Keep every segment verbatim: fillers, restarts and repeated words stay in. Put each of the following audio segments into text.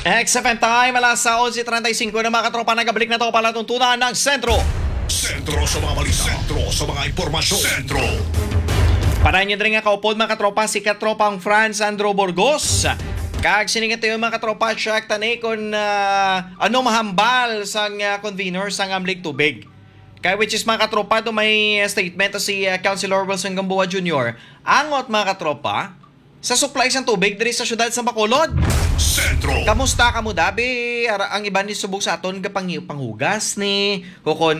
X F M time, alas sa onse treinta y cinco na, mga katropa, nagabalik na to palatuntunan ng Sentro. Sentro sa mga balita. Sentro sa mga impormasyon. Sentro. Para inyo diri nga kaupod, mga katropa, si katropang Franz Andrew Burgos. Kag sini nga tuyo, mga katropa, check tani kung, ah, ano mahambal sang, ah, convener sang Amlig Tubig. Kay which is, mga katropa, do may statement si, ah, Councilor Wilson Gamboa Junior. Angot, mga katropa, sa supply sang tubig diri sa siyudad sa Bacolod. Sentro. Kamusta kamo, dabi? Ara, ang iban ni subong sa aton gapang-, panghugas ni, o kon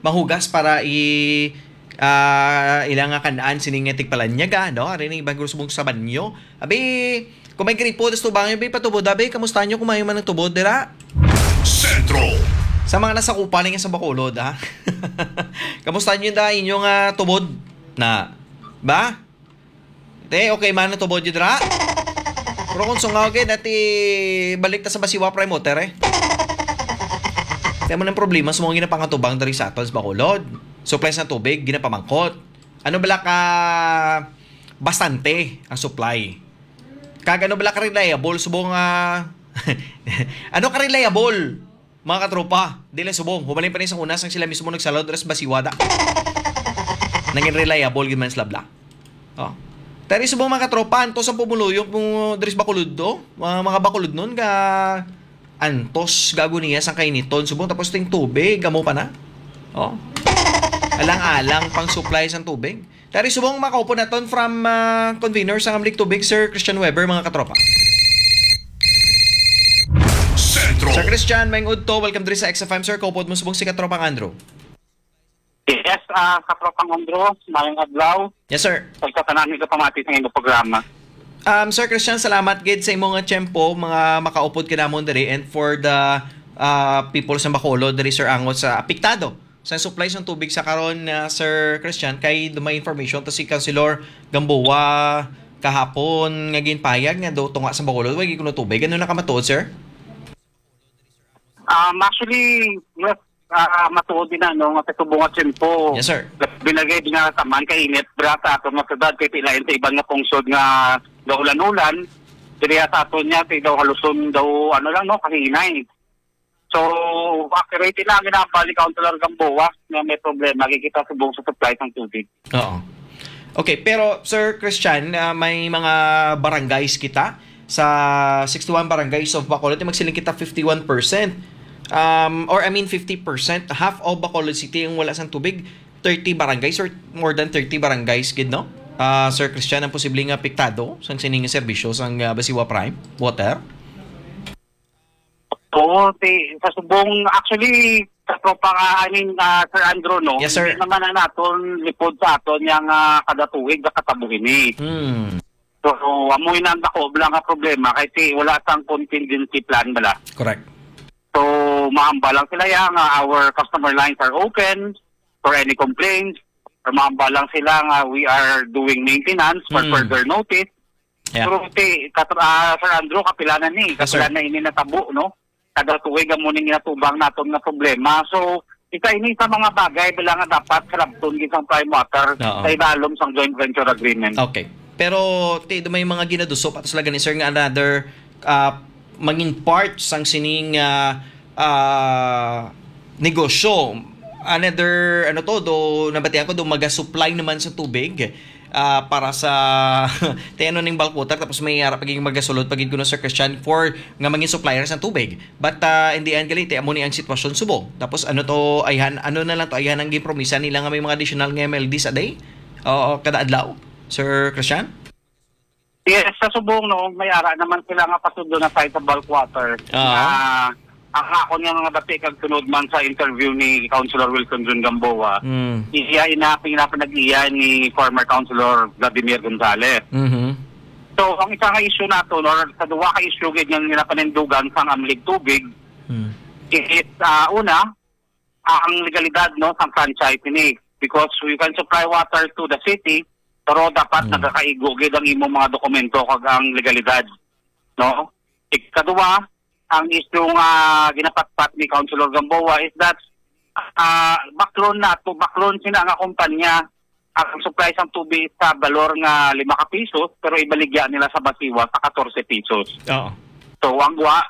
mahugas para i, ah, ila nga kan-an sini nga tigpalanyaga, no? Ari ni iban guro subong sa banyo. Abi, kung may gripo, tas tubangan, abi, patubod, abi, kamusta nyo kung may man ang tubod, dira? Sentro. Sa mga nasakupan nga sa Bacolod, ha? Kamusta nyo da inyong, ah, tubod? Na, ba? Te, okay man ang tubod yun, dira? Pero kung sungaw, gid, ati, balik ta sa Basiwa Prime Water, eh. Kaya mo ng problema sa mga ginapangatubang diri sa aton sa Bacolod. Supply sa tubig, ginapamangkot. Ano bala ka bastante ang supply? Kag ano bala ka reliable subong, ah, ano ka reliable? Mga katropa, di lang subong. Humalin pa ni sa una, sang sila mismo nagsalod, ras basiwada. Nangin reliable gid man sila bla. Oh. Tari subong, mga katropa, anto sa pumuluyok mo dres Bacolod do? Mga, mga Bacolod nun, ka antos gago niya sang kainiton. Subong, tapos ting tubig, amo pa na. Oh. Alang-alang pang supply sang tubig. Tari subong, makaupod naton from, ah, convener sang Amlig Tubig, Sir Christian Weber, mga katropa. Sentro. Sir Christian, maayong udto. Welcome diri sa X F M, sir. Kaupod mo subong si Katropang Andrew. Yes, ah, Katropang Andrew, maayong adlaw. Yes, sir. Pagkatanan ni kapamati sa inyong programa. Um, Sir Christian, salamat gid sa imong, ah, tiyempo, mga makaupod ka namon diri, and for the, ah, people sa Bacolod diri, sir, angot sa apektado sa supply sang tubig sa karon, ah, Sir Christian, kay do may information to si Councilor Gamboa kahapon nga ginpayag nga do tunga sa Bacolod, wa gyud kuno tubig. Ano na ka matuod, sir? Um, actually, yes, ah, matuod din na, no, nga sa subong nga tiyempo. Yes, sir. Binagay din nga taman kay init bra sa aton nga syudad, kay pilain sa iban nga pungsod nga gaulan-ulan. Diri sa aton niya, kay daw haluson daw, ano lang, no, kahinay. So, accurate na ang ginambal ni Councilor Gamboa nga may problema, kay kita subong sa supply sang tubig. Oo. Okay, pero Sir Christian, ah, may mga barangays kita sa sixty-one barangays of Bacolod, magsiling kita fifty-one percent. Um, or I mean fifty percent, half of Bacolod City ang wala sang tubig, thirty barangays or more than thirty barangays gid, no? Ah, Sir Christian, ang posibleng apektado sang sining serbisyo sang, ah, Basiwa Prime Water? Oo, si, sa subong, actually, sa tropa nga, I mean, ah, Sir Andrew, no? Yes, sir. Hindi naman na naton lipod sa aton yang, ah, kada tuig nakatabo ini. Hmm. So, amoy na ang dako lang nga problema kay si wala sang contingency plan bala. Correct. So, mahambal lang sila ya nga our customer lines are open for any complaints. Or mahambal lang sila nga we are doing maintenance for Hmm. further notice. Yeah. Pero ti, kat-, ah, Sir Andrew, kapila na ni, Yes, sir. kapila na ini natabo, no? Kada tuig amo ning ginatubang naton nga problema. So, isa ini sa mga bagay bala nga dapat sarabton gid sang Prime Water Oo. sa ilalom sang joint venture agreement. Okay. Pero ti, do may mga ginaduso pa to sila gani, sir, nga another, ah, mangin part sang sining, ah, ah, negosyo. Another, ano to, do, nabatian ko, do maga-supply naman sa tubig, ah, para sa, ti ano ning bulk water, tapos may ara pagiging magasulod pagig kuno, Sir Christian, for nga mangin supplier sa tubig. But, ah, in the end, gali, ti amo ni ang sitwasyon subong. Tapos ano to, ayhan, ano na lang to, ayhan ang ginpromisa nila nga may mga additional nga M L D sa day? Oo, kada adlaw, Sir Christian? Yes, sa subong, no, may ara naman sila nga pasudlo na side sa bulk water. Ah. Na ang akon nga mga bati kag tunod man sa interview ni Councilor Wilson Jun Gamboa, Mm. iya ina, pinapanag-iya ni former Councilor Vladimir Gonzales. Mhm. So, ang isa nga issue nato, no, sa duwa ka issue gid nga ginapanindugan sang Amlig Tubig, Mm. is, ah, una, ang legalidad, no, sang franchise ini. Because you can supply water to the city, pero dapat Hmm. nagakaigo gid ang imong mga dokumento kag ang legalidad, no? Ikaduha, ang issue nga ginapatpat ni Councilor Gamboa is that, ah, baklon nato, baklon sina nga kumpanya ang supply sang tubig sa balor nga lima ka pisos, pero ibaligya nila sa Basiwa sa katorse pisos. Oo. So, ang gwa,